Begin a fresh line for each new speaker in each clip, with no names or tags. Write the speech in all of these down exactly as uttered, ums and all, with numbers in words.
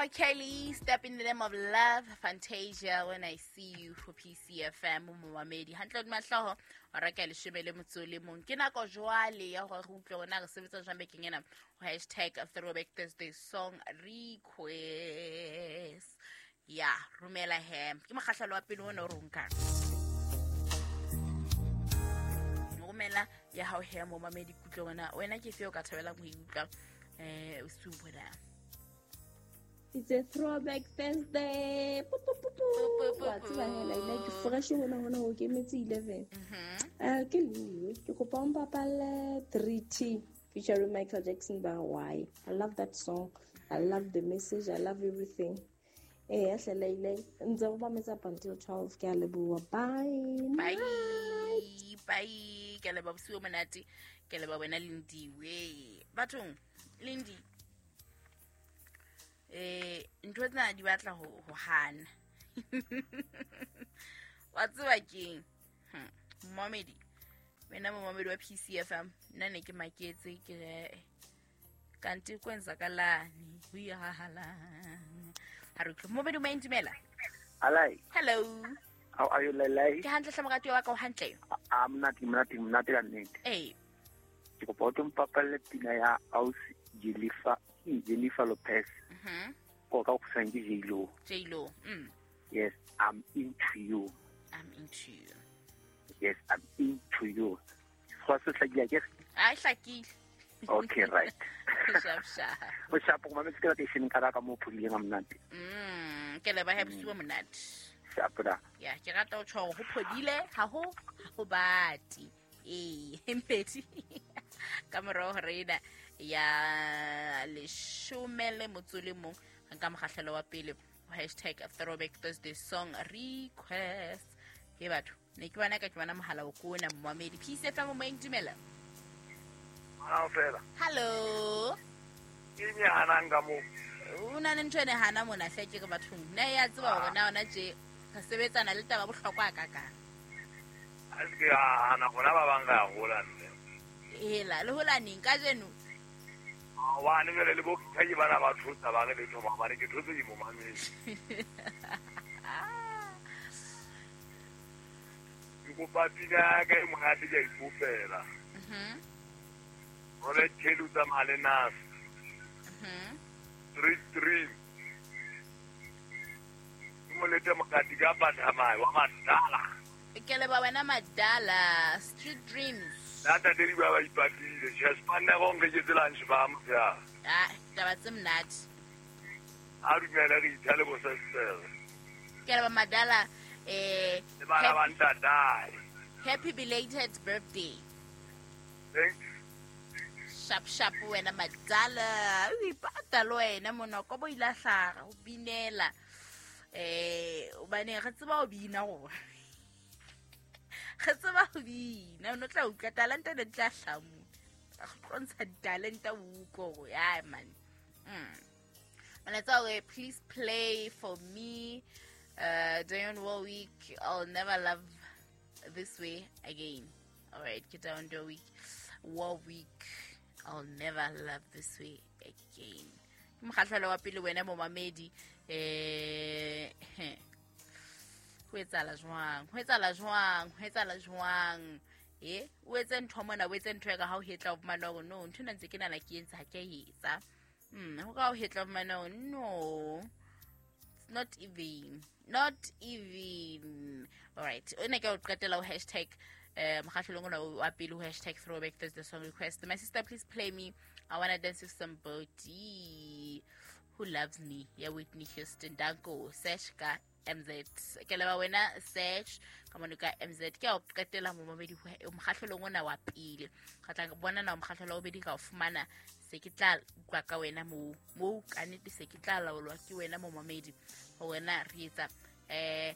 Kelly, Step in the Name of Love, Fantasia, When I See You for P C F M, momamedi. Hantle mahloho, o reka leshome le motso le mong. Ke nako jwale ya hore re utlwe hore na re sebetsa jwang bekeng ena. Hashtag Throwback Thursday song request. Ya, romela he. Ke mokgahlelo wa pele ona o re o nkang. Romela ya hao he momamedi kutlwe hore na wena ke efe o ka thabelang ho e utlwa eh o bona.
It's a Throwback Thursday. Pu pu pu pu. Wa tseba hela ile ke fresh hona hona ho ke metse eleven. Eh ke le ke kopa o mpapalle three T featuring Michael Jackson by Why. I love that song. I love the message. I love everything. Eh hlela ile ntse go ba metsa up until twelve ke a leboha. Bye.
Bye. Bye. Ke leboha bosiu monate. Ke leboha wena Lindiwe. Bathong Lindi. Eh ntho tsena di batla ho ho hana. Wa tseba keng? Hm, momedi. Wena momedi wa P C F M nna ne ke maketse ke re kanti kwenzakalani ho ihahalang. Ha re momedi o maintumela.
Alai.
Hello.
How are you Lelai?
Ke hantle hle morati wa ka o hantle.
I'm not not not ka nnete.
Eh.
Ke kopa o tlo mpapalle pina ya Ausi Jennifer Jennifer Lopez.
Mhm.
Ko ka go ke J-Lo.
J-Lo. Mm.
Yes, I'm into you.
I'm into you.
Yes, I'm into you. Go se hlakile ke?
Ai hlakile.
Okay, right.
Sharp sharp.
O sharp go mametse ke la station ka ka mo phuleng a monate.
Mm, ke le ba happy bosiu monate.
Sharp da.
Ya, ke rata o tjho ho phodile ha ho ho bati. Eh, empedi. Ka morao hore ena ya leshome le motso le mong nka mokgahlelo wa pele hashtag Throwback Thursday song request. Ke batho ne ke bona ka ke bona mohala o kona momamedi P C F M moeng dumela.
Ha fela.
Hello.
Ke nyana nga mo.
O na le ntho ene hana mona hle ke re bathong. Nna ya tseba hore na ona tje re sebetsana le taba bohlokwa ka ka.
A se ke hana gona ba bang ga hola nne.
Hela le hola neng ka jeno?
Wa ne le le bo ke bana ba thusa ba re le thoma ba re ke thotse di momamedi. Ke kopa pina ka e monate ke a ikopela.
Mhm.
Role tshelu tsa male nas.
Mhm.
Three three. Molete mokati ka bathamai wa madala.
Ke le ba wena madala Street Dreams.
Nata deri ba ba ipatile Jasper go ngetse lunch ba mo ya.
Ah, taba tse monate.
A dumela re ithale bo sesela.
Ke le ba madala eh
le bana ba ntatae.
Happy belated birthday.
Thanks.
Sharp sharp wena madala. O ipata le wena monoko bo ile hlaga o binela. Eh o bane re tseba o bina go. Re tseba ho bina o no tla utlwa talente ne tla hlamu. Go tlo ntsha talente o utlwe gore ya man. Mm. Molaetsa o re please play for me uh Dionne Warwick, I'll never love this way again. All right, get down Warwick. Warwick, I'll never love this way again. Ke mokgahlelo wa pele wena momamedi eh ho etsahala jwang? Ho etsahala jwang? Ho etsahala jwang? Eh, o etse ntho mona, o etse ntho ya ka ha o hetla o fumana hore no, ntho ena ntse ke nana ke entse ha ke e etsa. Mm, ho ka o hetla o fumana hore no. It's not even. Not even. All right. O ne ke o qetela o hashtag eh mokgahlelong ona wa pele ho hashtag Throwback Thursday song request. My sister, please play me I Wanna Dance with Somebody Who Loves Me. Ya Whitney Houston. Danko search ka M Z. Ke leba wena search ka mono ka M Z. Ke o qetela momamedi mokgahlelong ona wa pele. Ka tla bona na mokgahlelo wa bobedi ka o fumana se ke tla utlwa ka wena mo mo ka nnete se ke tla laolwa ke wena momamedi ho wena re etsa eh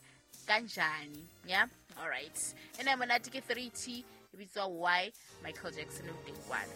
kanjani. Yeah, all right. Ena monate ke three T e bitswa Y Michael Jackson o teng kwana.